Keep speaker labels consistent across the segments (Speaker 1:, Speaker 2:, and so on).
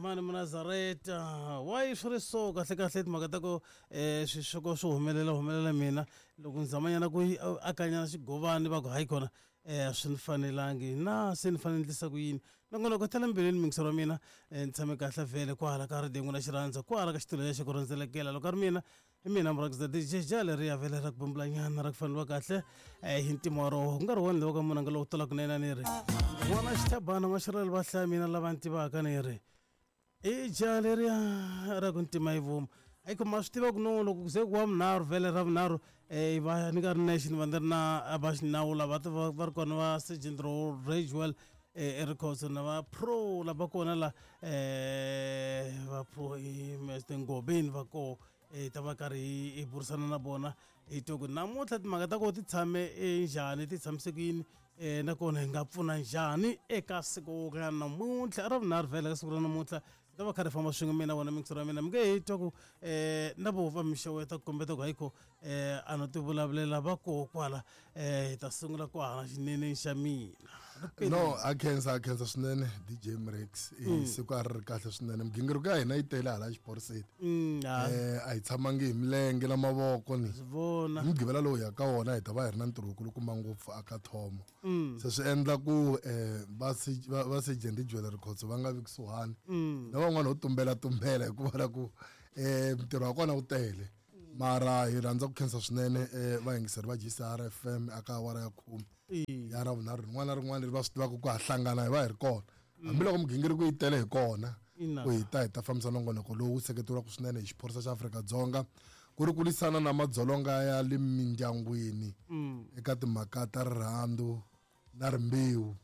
Speaker 1: Mani Munazareta why swi ri so kahle kahle timhaka ta ku swisweko swi humelela humelela mina loko ni zamanyana ku akanyana xigovani va ku hayi kona a swi ni fanelangi na se ni fanele ni endlisa ku yini nongonoko ta le mbilwini mingisero wa mina ni tshame kahle vhele kwahala ka radio n'wina xirhandza kwahala ka xitulu lexi ku rhendzelekela loko a ri mina hi mina murhangisa DJ ja leriya vhele ra ku bumbulanyana ra ku faneliwa kahle hi ntima wa roho ku nga ri wona lowu ka munanga lowu talaka na yena ni ri n'wana xithabana n'waxirhelo va hlaya mina lava ni tivaka ni ri i ja leriya ra ku ntima yi vuma ayi ku ma swi tiva ku no loko ku ze ku wa vunharhu vhele ra vunharhu um va ni nga ri nexe ni va ni ri na va xinawu lava va ri kona va sergeant ragewell erikhotso na va pro lava kona la um va pro mr ngobeni va koho hi ta va karhi hi burisana na vona hi twa ku namuntlha timhaka ta kona ti tshame njhani ti tshamise ku yini um nakona hi nga pfuna njhani eka siku ra namuntlha ra vunharhu vhele ka siku ra namuntlha hi ta va kha ri famba swin'we mina wona mixero ya mina mi nge hi twa ku um na vo va mixeweta ku kombeta ku hayikho um a no ti vulavulela va koho kwala um hi ta sungula kwahala xineneni xa mina
Speaker 2: no a khensa a khensa swinene dj mrex siku a ri ri kahle swinene migingiriko ya hina yi tele hala xiporiseni a hi tshamangi hi milenge na mavoko ni
Speaker 1: vona
Speaker 2: hi mugqivela lowu hi ya ka wona hi ta va hi ri na ntirho wukulukumba ngopfu aka thomo se swi endla ku um va sergeant jewellery khotso va nga vi kusuhani na van'wana ho tumbela tumbela hikuva la ku um ntirho wa kona wu tele mara hi rhandza ku khensa swinene um vayingiseri va GCR FM aka awara ya khume ya ra vunharhu rin'wana na rin'wana leri va swi tivaka ku ha hlangana hi va hi ri kona hambiloko migingiriko yi tele hi kona ku hi ta hi ta fambisa nongonoko lowu seketeriwaka swinene hi xiphorisa xa Afrika-Dzonga ku ri ku lwisana na madzolonga ya le mindyangwini eka timhaka ta rirhandzu na rimbewu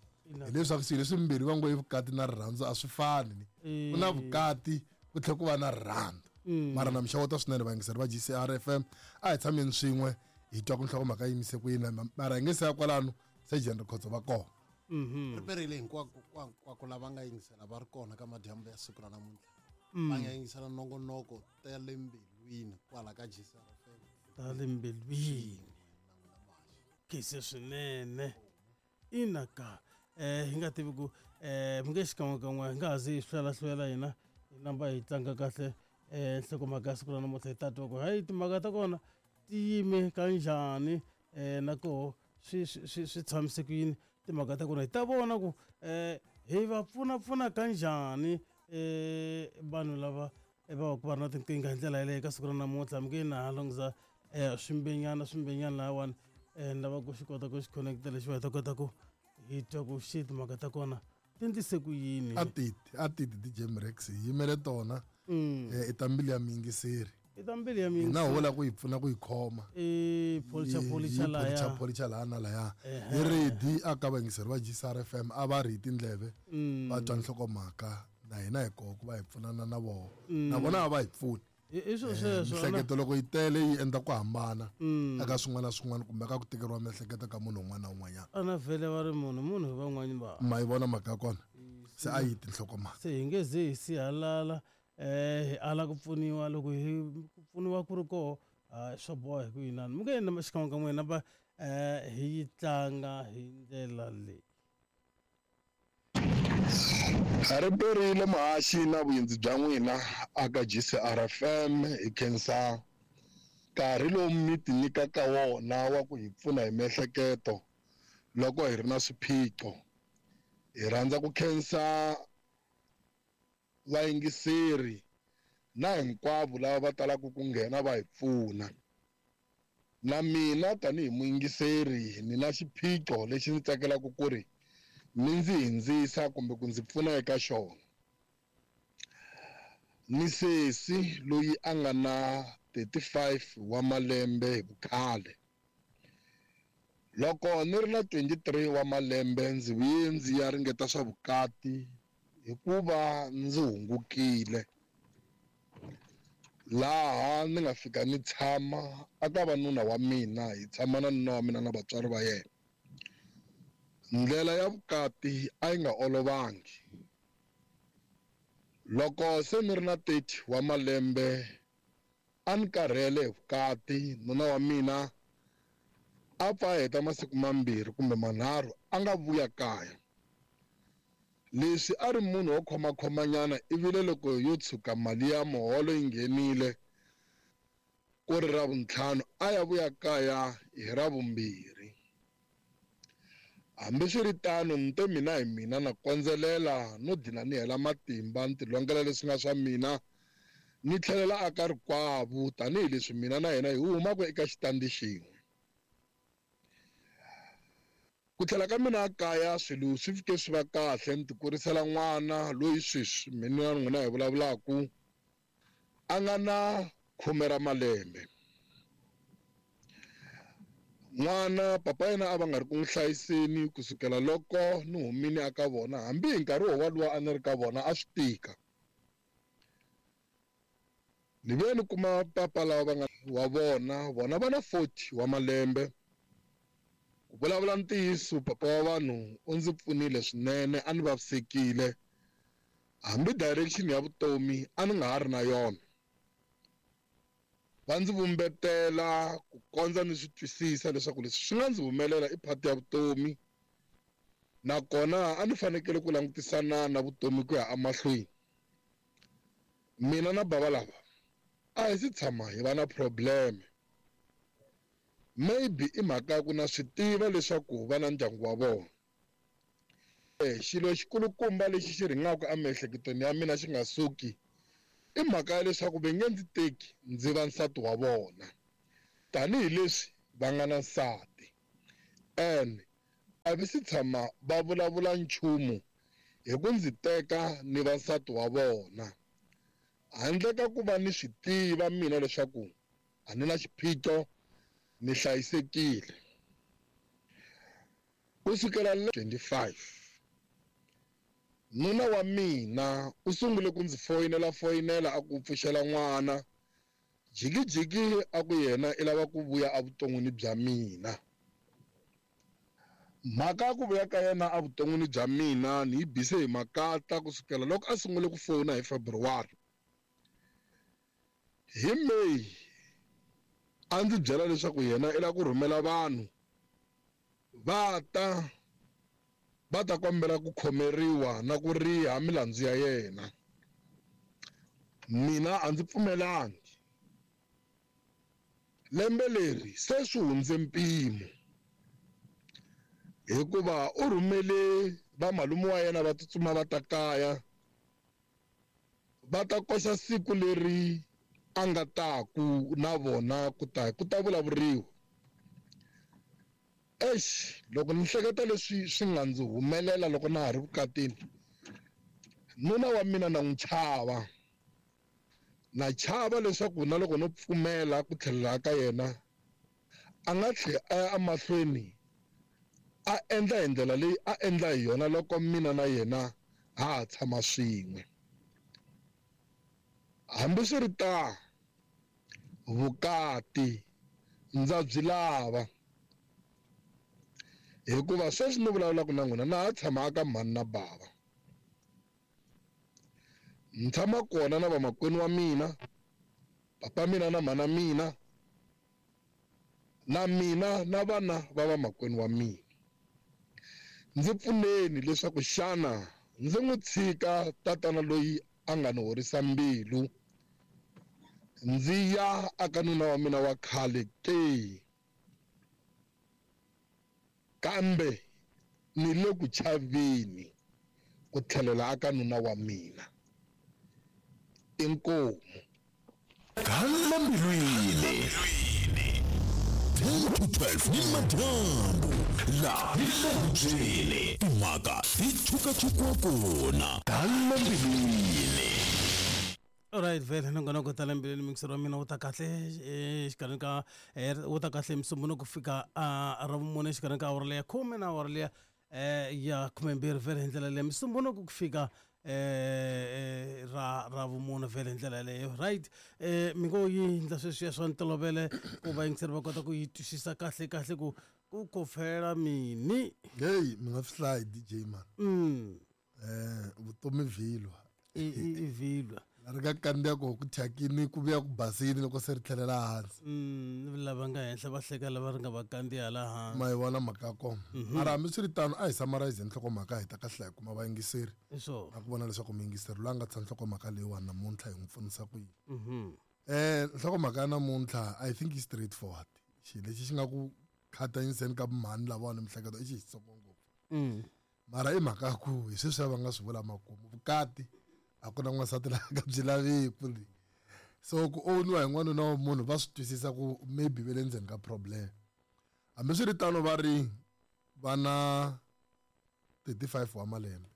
Speaker 2: hileswaku swilo leswimbirhi va ngo i vukati na rirhandzu a swi fani ni ku na vukati ku tlhela ku va na rirhandzu mara na mixeweta swinene vayingiseri va GCR FM a hi tshameni swin'we hi twa ku nhlokomhaka yi yimise ku yini mara hi nge se ya kwalano sergeant Rikhotso va kona
Speaker 3: ri perile hinkwako hinkwako lava nga yingisela va ri kona ka madyambu ya siku ra namuntlha va nga yingisela nongonoko ta le mbilwini kwala ka GCR FM
Speaker 1: ta le mbilwini kise swinene ina ka hi nga tivi ku mi nge xikan'wekan'we hi nga ha zi hi hlwelahlwela hina hi namba hi tlanga kahle nhlokomhaka ya siku ra namuntlha hi ta twa ku hayi timhaka ta kona ti yime kanjhani na koho swi swi swi tshamise ku yini timhaka ta kona hi ta vona ku hi va pfunapfuna kanjhani vanhu lava va va ku va ri na tinkingha hi ndlela yaleyo ka siku ra namuntlha mi nge na ha lunghisa swimbenyana swimbenyana lahawani ni lava ku xi kota ku xi connecta lexiwa hi ta kota ku hi twa ku xi timhaka ta kona ti ndlise ku yini
Speaker 2: a titi a titi DJ Mrex hi yimele tona i ta mbilu ya miyingiseri
Speaker 1: i ta mbilu ya
Speaker 2: hina ho la ku yi pfuna ku yi khoma
Speaker 1: i pholicha pholicha
Speaker 2: laya pholicha laya na laya hi ready a ka vayingiseri va GCR FM a va ri hi tindleve va twa nhlokomhaka na hina hi koho ku va hi pfunana na vona na vona a va hi pfuni
Speaker 1: i swilo sweswo
Speaker 2: miehleketo loko yi tele yi endla ku hambana eka swin'wana na swin'wana kumbe ka ku tikeriwa miehleketo ka munhu un'wana na un'wanyana
Speaker 1: a na vhele va ri munhu munhu hi van'wani va
Speaker 2: ma yi vona mhaka ya kona se a yi tinhlokomhaka
Speaker 1: se hi nge ze hi sihalala hi ala ku pfuniwa loko hi ku pfuniwa ku ri koho swo boha hi ku yinani mi nge yena xikan'we kan'we va hi yi tlanga hi ndlela leyi
Speaker 4: Ri perile muhaxi na vuyindzi bya n'wina aka GCR FM hi khensa nkarhi lowu mi ti nyikaka wona wa ku hi pfuna hi miehleketo loko hi ri na swiphiqo hi rhandza ku khensa vayingiseri na hinkwavo lava va talaka ku nghena va hi pfuna na mina tanihi muyingiseri ni na xiphiqo lexi ndzi tsakelaka ku ri mi ndzi hindzisa kumbe ku ndzi pfuna eka xona ni sesi loyi a nga na 35 wa malembe hi vukhale loko ni ri na 23 wa malembe ndzi vuye ndzi ya ringeta swa vukati hikuva ndzi hungukile laha ni nga fika ni tshama aka va nuna wa mina hi tshama na nuna wa mina na vatswari va yena ndlela ya vukati a yi nga olovangi loko se ni ri na 30 wa malembe a ni karhele hi vukati nuna wa mina a pfa a heta masiku mambirhi kumbe manharhu a nga vuya kaya. Leswi a ri munhu wo khomakhomanyana ivile loko yo tshuka mali ya muholo yi nghenile ku ri Ravuntlhanu a ya vuya kaya hi Ravumbirhi. Hambiswiritano ni te mina hi mina na kondzelela no dlina ni hela matimba ni tilongela leswi nga swa mina ni tlhelela aka rikwavo tanihileswi mina na yena hi humaka eka xitandi xin'we. Ku tlhela ka mina ekaya swilo swi fike swi va kahle ni tikurisela n'wana loyi sweswi mina na n'wina hi vulavulaka a nga na khume ra malembe. N'wana papa yena a va nga ri ku n'wi hlayiseni ku sukela loko ni humile aka vona hambi hi nkarhi wowalowa a ni ri ka vona a swi tika. Ni vuye ni kuma papa lava va nga wa vona vona va na 40 wa malembe. Ku vulavula ntiyiso papa wa vanhu u ndzi pfunile swinene a ni vavisekile hambi direction ya vutomi a ni nga ha ri na yona. Va ndzi vumbetela ku kondza ni swi twisisa leswaku leswi swi nga ndzi humelela i part ya vutomi nakona a ni fanekele ku langutisana na vutomi ku ya emahlweni. Mina na bava lava a hi si tshama hi va na problem. Maybe i mhaka ya ku na swi tiva leswaku va na ndyangu wa vona. Xilo xikulukumba lexi xi rhingaka emiehleketweni ya mina xi nga suki i mhaka ya leswaku va nge ndzi teki ndzi va nsati wa vona tanihileswi va nga na nsati and a vi si tshama va vulavula nchumu hi ku ndzi teka ni va nsati wa vona handle ka ku va ni swi tiva mina leswaku a ni na xiphiqo ni hlayisekile. Ku sukela 25 nuna wa mina u sungule ku ndzi foyinela a ku pfuxela n'wana jikijiki a ku yena i lava ku vuya evuton'wini bya mina. Mhaka ya ku vuya ka yena evuton'wini bya mina ni yi bise hi makata ku sukela loko a sungule ku fona hi February. Hi May a ndzi byela leswaku yena i lava ku rhumela vanhu va ta va ta kombela ku khomeriwa na ku riha milandzu ya yena. Mina a ndzi pfumelangi. Lembe leri se swi hundze mpimo hikuva u rhumele vamalume wa yena va tsutsuma va ta kaya va ta koxa siku leri a nga taku na vona ku ta vulavuriwa. Eish, loko ni hleketa leswi swi nga ndzi humelela loko na ha ri vukatini, nuna wa mina na n'wi chava. Na chava leswaku na loko no pfumela ku tlhelela ka yena a nga tlhela a ya emahlweni a endla hi ndlela leyi a endla hi yona loko mina na yena ha ha tshama swin'we. Hambiswiritano, vukati ndza byi lava hikuva sweswi ni vulavulaka na n'wina na ha tshama aka mhani na bava. Ni tshama kona na vamakwenu wa mina, papa mina na mhana mina, na mina na vana va vamakwenu wa mina. Ndzi pfuneni leswaku xana ndzi n'wi tshika tatana loyi a nga ni horisa mbilu ndzi ya aka nuna wa mina wa khale ke, kambe ni le ku chaveni ku tlhelela aka nuna wa mina. Inkomu.
Speaker 5: Gala mbilwini 10 to 12 ni madyambu la hi le hubyeni timhaka ti tshukatshukiwa kona. Gala mbilwini.
Speaker 1: Alright, vhele nongonoko ta le mbilwini mixero wa mina wu ta kahle exikarhini ka wu ta kahle Musumbunuko ku fika Ravumune exikarhini ka awara leya 10 na awara leya ya 12 vhele hi ndlela leyo. Musumbunuko ku fika Ravumune vhele hi ndlela leyo. Right, mi ngo yi ndla sweswiya swa ntolovelo ku vayingiseri va kota ku yi twisisa kahle kahle ku ku kofela mini.
Speaker 2: Hey, mi nga swi hlayi DJ man. Vutomi vhilwa.
Speaker 1: I vhilwa.
Speaker 2: La ri nga kandziya koho ku thyakini ku vuya ku basini loko se ri tlhelela hansi.
Speaker 1: Lava nga henhla va hleka lava ri nga va kandziya laha hansi.
Speaker 2: Ma yi vona mhaka ya kona. Mara hambiswiritano a hi summarize nhlokomhaka hi ta kahle hi kuma vayingiseri.
Speaker 1: Hi swona.
Speaker 2: Na ku vona leswaku muyingiseri loyi a nga tsha nhlokomhaka leyiwani namuntlha hi n'wi pfunisa ku yini. Nhlokomhaka ya namuntlha I think yi straight forward. Xilo lexi xi nga ku khatanyiseni ka mhani lavawani mihleketo i xi xitsongo ngopfu. Mara i mhaka ya ku hi sweswiya va nga swi vula makumu vukati a ku na n'wansati la nga byi laviku le. So ku owniwa hi n'wanuna wa munhu va swi twisisa ku maybe ve le ndzeni ka problem. Hambiswiritano va ri va na 35 wa malembe.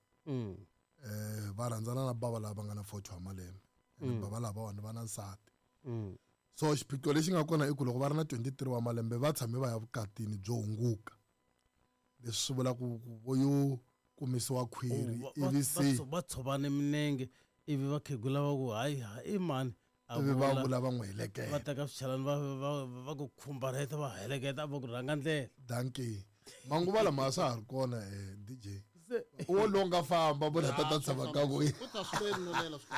Speaker 2: Va rhandzana na bava lava va nga na 40 wa malembe. Bava lavawani va na nsati. So xiphiqo lexi nga kona i ku loko va ri na 23 wa malembe va tshame va ya vukatini byo hunguka. Leswi swi vula ku vo yo kumisiwa khwiri ivi se
Speaker 1: va tshovane minenge ivi va khegula va ku hayi i mani a
Speaker 2: ivi va vula va n'wi heleketa.
Speaker 1: Va teka swichalani va ku khumbarheta va heleketa va ku rhanga ndlela.
Speaker 2: Dankie. Manguva lama a swa ha ri kona DJ. Wo longa famba vona tata tshama ka ku.
Speaker 3: U ta swi nolela swi.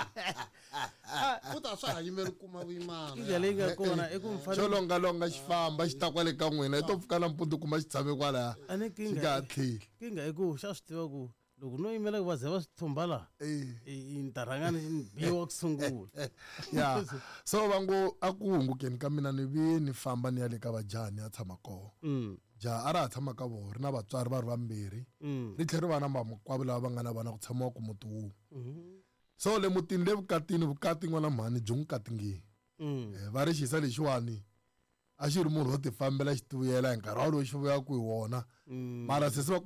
Speaker 3: U ta swa ha yimeli kuma vuyimana.
Speaker 1: Ndlela leyi nga kona i ku mfana.
Speaker 2: Xo longa longa xi famba xi ta kwale ka n'wina i to pfuka nampundzu kuma xi tshame kwalaya.
Speaker 1: A ni
Speaker 2: Xi nga ha tlheli.
Speaker 1: Kinga i ku xa swi tiva ku loko no yimela ku va ze va swi thumba laha i ta rhanga ni biwa ku sungula.
Speaker 2: Ya. So va ngo a ku hungukeni ka mina ni vi ni famba ni ya le ka vajaha ni ya tshama kona. Jaha a ra ha tshama ka vona ri na vatswari va ri vambirhi. Ri tlhela ri va na vamakwavo lava va nga na vana ku tshamiwa ku muti wun'we. So le mutini le vukatini vukati n'wana mhani byi n'wi katingile. Va ri xisa lexiwani a xi ri munhu wo tifambela xi tivuyela hi nkarhi walowo xi vuya ku hi wona. Mara sesi va